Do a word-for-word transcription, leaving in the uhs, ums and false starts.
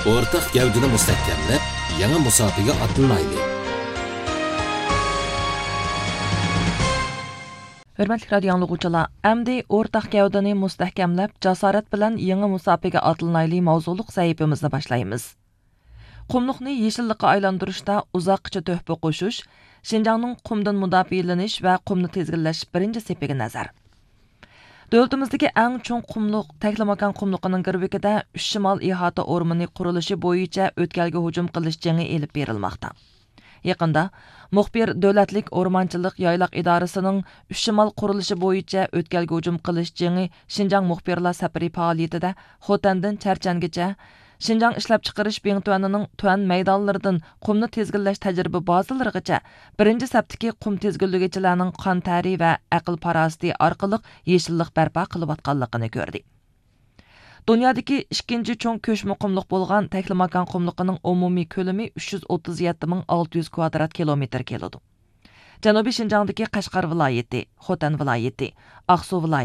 ئورتاق گەۋدىنى مۇستەھكەملەپ، يېڭى مۇساپىگە ئاتلىنايلى. ھۆرمەتلىك رادىيو ئاڭلىغۇچىلار، ئەمدى ئورتاق گەۋدىنى مۇستەھكەملەپ، جاسارەت بىلەن يېڭى مۇساپىگە ئاتلىنايلى ماۋزۇلۇق سەھىپىمىزنى باشلايمىز. قۇملۇقنى يېشىللىققا ئايلاندۇرۇشتا ئۇزاققىچە تۆھپە قوشۇش، شىنجاڭنىڭ قۇمدىن مۇداپىئەلىنىش ۋە قۇمنى تىزگىنلەش بىرىنچى سېپىگە نەزەر. دۆلىتىمىزدىكى ئەڭ چوڭ قۇملۇق تەكلىماكان قۇملۇقىنىڭ گىرۋىكىدە ئۈچ شىمال ئىھاتە ئورمىنى قۇرۇلۇشى بويىچە ئۆتكەلگە ھۇجۇم قىلىش جېڭى ئېلىپ بېرىلماقتا. يېقىندا مۇخبىر دۆلەتلىك ئورمانچىلىق يايلاق ئىدارىسىنىڭ ئۈچ شىمال قۇرۇلۇشى بويىچە ئۆتكەلگە ھۇجۇم قىلىش جېڭى شىنجاڭ مۇخبىرلار سەپىرى پائالىيىتىدە خوتەندىن چەرچەنگىچە، شىنجاڭ ئىشلەپچىقىرىش بىڭتۈەنىنىڭ تۈەن مەيدانلىرىدىن قۇمنى تىزگىنلەش تەجرىبە بازىلىرىغىچە بىرىنچى سەپتىكى قۇم تىزگىنلىگۈچىلەرنىڭ قان تەرى ۋە ئەقىل پاراسىتى ئارقىلىق يېشىللىق بەرپا قىلىۋاتقانلىقىنى كۆردى. دۇنيادىكى ئىككىنچى چوڭ كۆچمە قۇملۇق بولغان تەكلىماكان قۇملۇقىنىڭ ئومۇمىي كۆلىمى ئۈچ يۈز ئوتتۇز يەتتە مىڭ ئالتە يۈز كۋادرات كىلومېتىر كېلىدۇ. جەنۇبىي شىنجاڭدىكى قەشقەر ۋىلايىتى، خوتەن ۋىلايىتى، ئاقسۇ ۋىلايىتى،